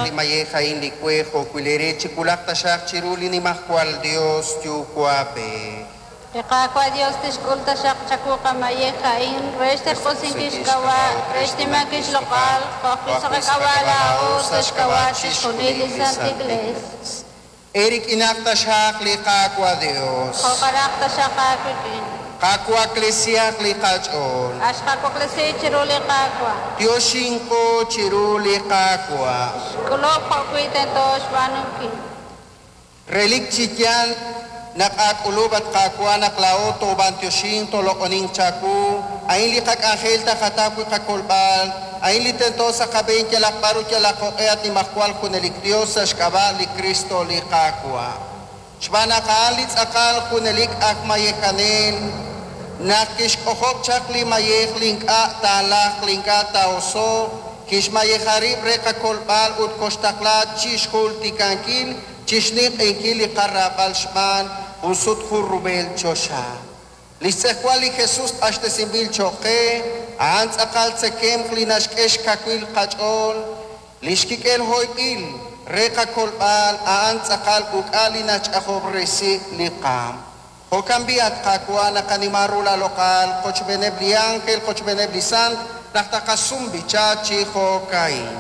li mayej a'in li we jo'wi' leere chiwulaq taxaq chiru li Nimajwal Yos Yuwa'b'ej. Li Qaawa' Yos tixk'ul taxaq chawu qamayej a'in re xterq'usinkil xk'ab'a', re xnimankil xloq'al, jo' ajwi' sa' qak'ab'a' laa'o sa' xk'ab'a' chixjunil li Sant Iklees. Eerik'inaq taxaq li Qaawa' Yos. Jo'kanaq taxaq aawik'in. Qawaklesihaq li qach'ool. A xqawaklesi chiru li Qaawa'. Yoxinqo chiru li Qaawa'. Xk'ulub' jo'wi' tento xb'aanunkil. Relik chi yaal naq aak'ulub', at Qaawa', naq laa'o toob'anyoxinq tooloq'oninq chawu. A'in li qak'anjel taqataw wi' qakolb'al. A'in li tento sa' qab'een yalaq b'ar ut yalaq jo'q'e, at Nimajwal Junelik Yos, sa' xk'ab'a' li Kristo li Qaawa'. Xb'aan naq a'an li tz'aqal junelik aj mayejanel, naq kixk'ojob' chaq li mayej li ink'a' taalajq li ink'a' taa'oso'q, kixmayeja rib' re qakolb'al ut koxtaqla chixjultikankil chixninq'ehinkil li qaraab'al xb'aan jun sut jun rub'el choxa. Li xtz'ejwal li Jesus q'axtesinb'il cho'q qe, a'an tz'aqal tzekemq li naxk'e xkawil qach'ool. Li xkik'el hoyb'il re qakolb'al, a'an tz'aqal uk'a li nach'ajob'resi li qaam. Jo'kan b'i', at Qaawa', naqanima ru laaloq'al qochb'eeneb' li ánjel, qochb'eeneb' li sant, naq taqasum b'icha chi jo'ka'in.